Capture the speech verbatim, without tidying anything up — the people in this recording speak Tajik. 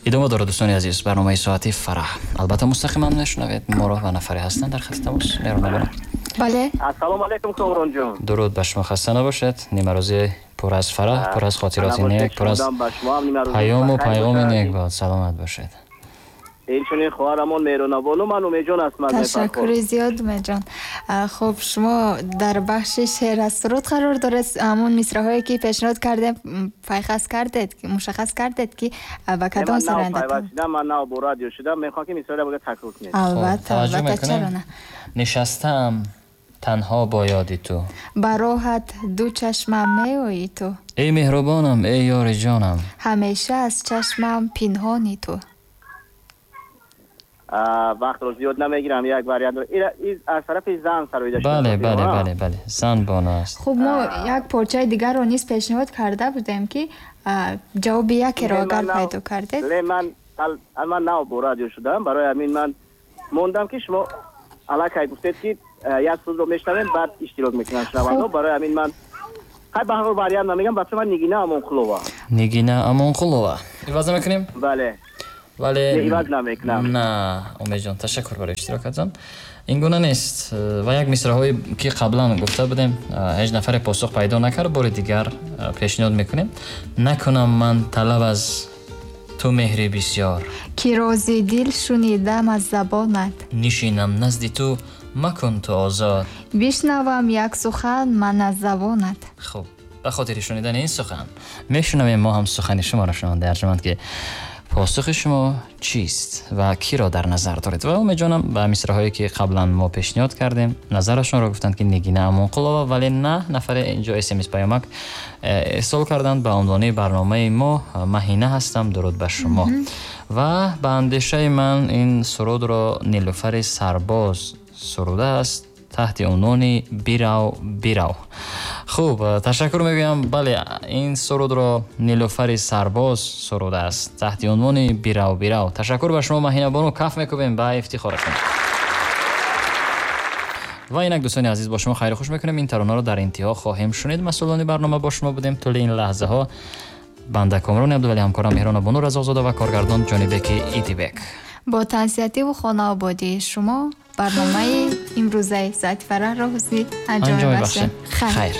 Идома дорад, дӯстони азиз, барномаи Соати Фараҳ. Албатта, мустақиман мешунавед моро ва нафаре ҳастанд дар хати тамос. Меҳрона бону. Бале. Ассалому алайкум, Комронҷон. Дуруд ба шумо, хаста набошед. Нимарӯзи пур аз фараҳ, пур аз хотироти нек, пур аз паёму пайғоми нек бод. Саломат бошед. Инчунин хоҳарамон Меҳрона бону, ман Умедҷон ҳастам аз Ташаккури зиёд, Умедҷон. Хуб, шумо дар бахши шеър аз суруд қарор доред. Ҳамон мисраҳое ки пешниҳод кардем, пайхас кардед, мушаххас кардед, ки ба кадом сароянда? Ман нав бо радио шудам, мехоҳам, ки мисраро бояд такрор кунед. Албатта, албатта, чаро на. Нишастаам танҳо бо ёди ту, ба роҳат ду чашмам меоӣ ту, эй меҳрубонам, эй ёри ҷонам, ҳамеша аз чашмам пинҳони ту. Вақтро зиёд намегирам, як вариант аз тарафи зан сароида шуда. Бале, бале, бале, бале, зан бону аст. Хуб, мо як порчаи дигарро низ пешниҳод карда будем, ки ҷавоби якеро агар пайдо кардед. Не, ман ман нав бо радио шудам, барои ҳамин ман мондам, ки шумо аллакай гуфтед, ки як сурудро мешунавем, баъд иштирок мекунам шунавандо. Барои ҳамин ман хай ба ҳар вариант намегам. Ба ман Нигина Амонқулова. Нигина Амонқулова иваз намекунем? Бале. Вале иваз намекунам. На, Умедҷон, ташаккур барои иштирокатон. Ин гуна нест ва як мисраҳое ки қаблан гуфта будем, ҳеҷ нафаре посух пайдо накард, бори дигар пешниҳод мекунем. Накунам ман талаб аз ту меҳри бисёр, ки рози дил шунидам аз забонат, нишинам назди ту, макун ту озод, бишнавам як сухан ман аз забонат. Хуб, ба хотири шунидани ин сухан мешунавем мо ҳам сухани шуморо, шунавандаи арҷманд, ки посухи шумо чист ва киро дар назар доред. Ва Умедҷонам ба мисраҳое ки қаблан мо пешниҳод кардем, назарашонро гуфтанд, ки Нигина Амонқулова, вале на нафаре инҷо смс паёмак ирсол карданд ба унвони барномаи мо. Маҳина ҳастам, дуруд ба шумо. Ва ба андешаи ман ин сурудро Нилуфари Сарбоз сурудааст таҳти унвони «Бирав, бирав». Хуб, ташаккур мегӯям. Бале, ин сурудро Нилуфари Сарбоз сурудааст таҳти унвони «Бирав, бирав». Ташаккур ба шумо, Маҳина бону, каф мекӯбем ба ифтихорашон. Ва инак, дӯстони азиз, бо шумо хайру хуш мекунем. Ин таронаро дар интиҳо хоҳем шунид. Масъулони барнома бо шумо будем тӯли ин лаҳзаҳо: банда Комрони Абдувалӣ, ҳамкорам Меҳрона бону Разоқзода ва коргардон Ҷонибеки Идибек. Бо тансиҳативу хонаободии шумо барномаи имрӯзаи Соати Фараҳро ҳусни анҷом анҷом мебахшем. мебахшем. Хайр.